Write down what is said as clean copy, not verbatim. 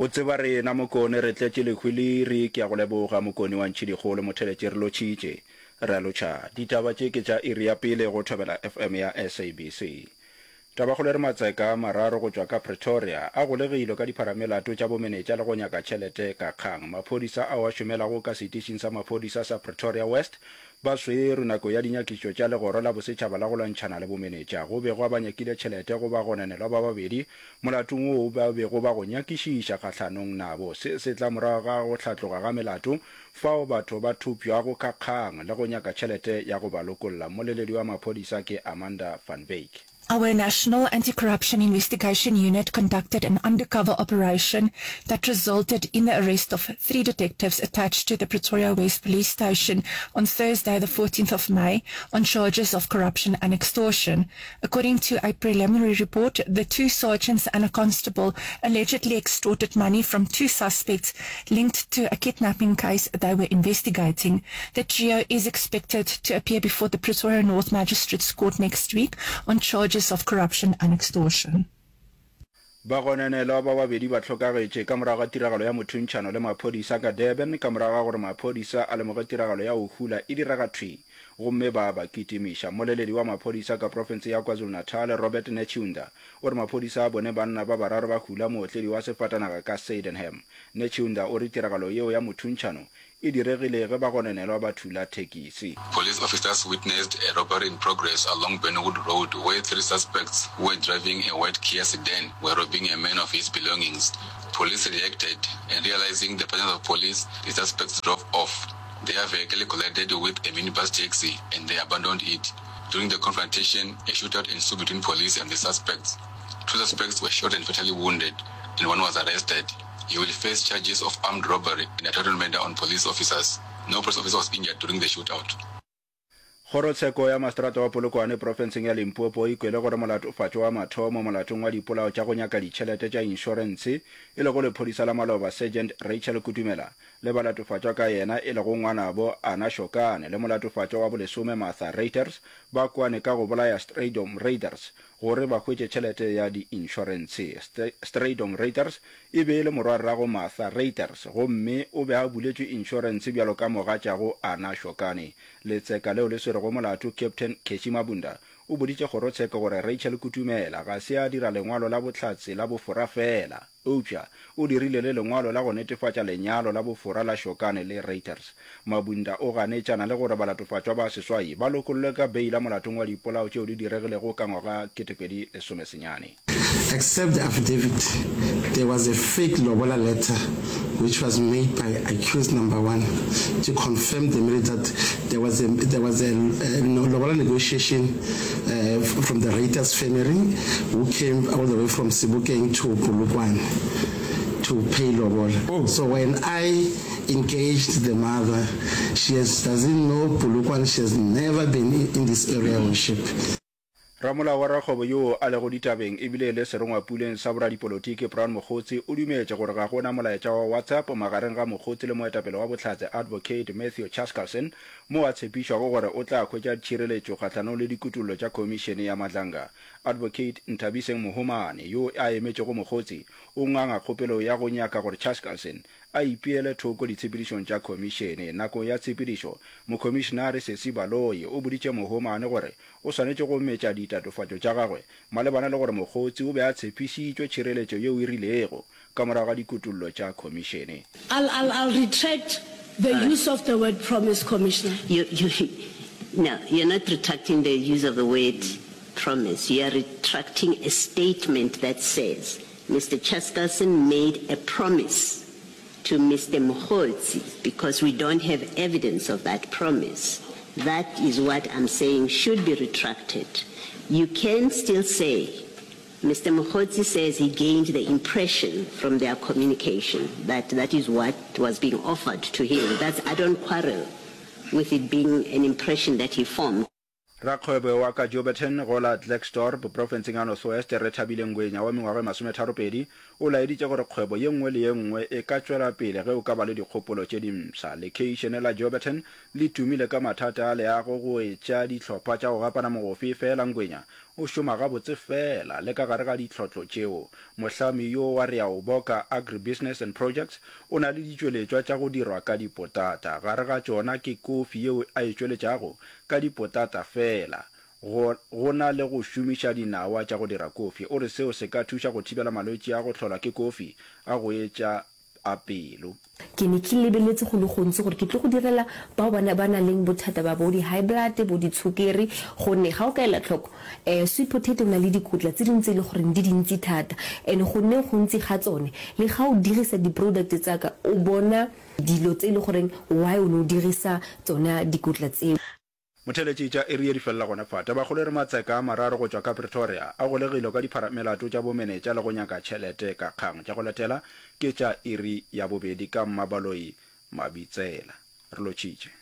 O tseba rena Mokone re tletše lehwiliri ke a go leboga Mokone wa Ntšhidikgolo motheletši re lotšhitše re a lotšha ditaba tše ke tša iri ya pele go Thobela FM ya SABC. Tabakgolo e re matseka a mararo go tšwa ka Pretoria a golegilwe ka dipharamelato tša bomenetša le go nyaka tšhelete ka kgang. Maphodisa ao a šomelago ka setišing sa maphodisa sa Pretoria West ba swerwe nako ya dinyakišo tša legoro la bosetšhaba la go lwantšhana le bomenetša. Go begwa ba nyakile tšhelete go bagononelwa ba babedi molatong woo ba bego ba go nyakišiša kgahlanong nabo. Se se tla morago ga go hlatloga ga melato fao batho ba thopšwago ka kgang le go nyaka tšhelete ya go ba lokolla. Mmoleledi wa maphodisa ke Amanda van Wyk. Our National Anti-Corruption Investigation Unit conducted an undercover operation that resulted in the arrest of three detectives attached to the Pretoria West Police Station on Thursday, the 14th of May, on charges of corruption and extortion. According to a preliminary report, the two sergeants and a constable allegedly extorted money from two suspects linked to a kidnapping case they were investigating. The trio is expected to appear before the Pretoria North Magistrates Court next week on charges of corruption and extortion. Bagononelwa ba babedi ba hlokagetše ka morago ga tiragalo ya mothuntšhano le maphodisa ka Durban ka morago ga gore maphodisa a lemoge tiragalo ya go hula e direga thwi gomme ba ba kitimiša. Mmoleledi wa maphodisa ka profense ya KwaZulu-Natal, Robert Netshiunda, o re maphodisa a bone banna ba bararo ba hula mootledi wa sefatanaga ka Sydenham. Netshiunda o re tiragalo yeo ya mothuntšhano e diregile ge bagononelwa ba thula thekisi. Police officers witnessed a robbery in progress along Burnwood Road where three suspects who were driving a white Kia sedan were robbing a man of his belongings. Police reacted and realizing the presence of police, the suspects drove off. Their vehicle collided with a minibus taxi and they abandoned it. During the confrontation, a shootout ensued between police and the suspects. Two suspects were shot and fatally wounded and one was arrested. He will face charges of armed robbery and attempted murder on police officers. No police officer was injured during the shootout. Kgorotsheko ya Maseterata wa Polokwane profenseng ya Limpopo e kwele gore molatofatšwa wa mathomo molatong wa dipolao tša go nyaka ditšhelete tša inšorentshe e lego lephodisa la maloba Sergeant Rachel Kutumela le balatofatšwa ka yena e lego ngwanabo Anna Shokane le molatofatšwa wa bolesome Martha Reuters ba kwane ka go bolaya Strijdom Raiders gore ba hwetše tšhelete ya diinšorentshe. Strijdom Reuters e be e le morwarrago Martha Reuters gomme o be a buletšwe inšorentshe bjalo ka mogatšago Anna Shokane. Letseka leo le swerego molato, Captain Cashy Mabunda, o boditše kgorotsheko gore Rachel Kutumela ga se a dira lengwalo la bohlatse la bofora feela, Eupša o dirile le lengwalo la go netefatša lenyalo la bofora la Shokane le Reuters. Mabunda o ganetšana le gore balatofatšwa ba seswai ba lokollwe ka beila molatong wa dipolao tšeo di diregilego ka ngwaga 2019. Except the affidavit, there was a fake lobola letter which was made by accused number one to confirm the marriage that there was a, there was a, a lobola negotiation uh, from the Reuters family who came all the way from Sebokeng to Polokwane to pay lobola. Oh. So when I engaged the mother, she has, doesn't know Polokwane, she has never been in, in this area worship. Ramolao wa rakgwebo yoo a lego ditabeng ebile e le serongwapuleng sa boradipolotiki Brown Mogotsi o dumetše gore ga go na molaetša wa WhatsApp magareng ga Mogotsi le moetapele wa Bohlatse Advocate Matthew Chaskalson moo a tshepišwago gore o tla hwetša tšhireletšo kgahlanong le dikutollo tša Khomišene ya Madlanga. Advocate Nthabiseng Mohomane, yo a emetšego Mogotsi, o nganga kgopelo ya go nyaka gore Chaskalson a ipeele thoko ditshepedišong tša khomišene. Nakong ya tshepedišo, Mokhomišenare Sesi Baloyi o boditše Mohomane gore o swanetše go metša ditatofatšo tša gagwe malebana le gore Mogotsi o be a tshepišitšwe tšhireletšo yeo e rilego ka morago ga dikutollo tša khomišene. I'll, I'll, I'll retract the use of the word promise, Commissioner. You, you, no, you're not retracting the use of the word promise. You are retracting a statement that says Mr. Chaskalson made a promise to Mr. Mogotsi because we don't have evidence of that promise. That is what I'm saying should be retracted. You can still say Mr. Mogotsi says he gained the impression from their communication that that is what was being offered to him. That's, I don't quarrel with it being an impression that he formed. Rakgwebo wa ka Jouberton go la Klerksdorp profenseng ya North West, Rethabile Ngwenya wa mengwaga e masometharopedi, o laeditše gore kgwebo ye nngwe le ye nngwe e ka tšwela pele ge o ka ba le dikgopolo tše dimpsha. Lekheišene la Jouberton le tumile ka mathata a leago go etša dihlopha tša go gapana mogofe, efela Ngwenya. o šoma gabotse fela le ka gare ga ditlhotlo tšeo. Mohlami yo wa Reaoboka Agribusiness and Projects o na le ditšweletšwa tša go dirwa ka dipotata. Gare ga tšona ke kofi yeo a e tšweletšago ka dipotata fela, go go na le go šomiša dinawa tša go dira kofi. O re seo se ka thuša go thibela malwetši a go hlolwa ke kofi a go etša a pelo. Ke ne ke lebeletse go le gontsi gore ke tlo go direla bao ba ba nang leng bothata ba bo di-high blood, bo ditshokere, gonne ga o ka ela tlhoko um sweet potato e na le dikotla tse dingwe tse e le goreng di dintsi thata and go nneng gontsi ga tsone le ga o dirisa di-product tsa ka o bona dilo tse e le goreng why o ne o dirisa tsona dikotla tseo. Motheeletši tša iri ye di felela gona fa. Tabakgolo e re matseka a mararo go tšwa ka Pretoria a golegilwe ka dipharamelato tša bomenetša le go nyaka tšhelete ka kgang. Tša go latela ke tša iri ya bobedi ka Mmabaloi Mabitsela. Re lotšhitše.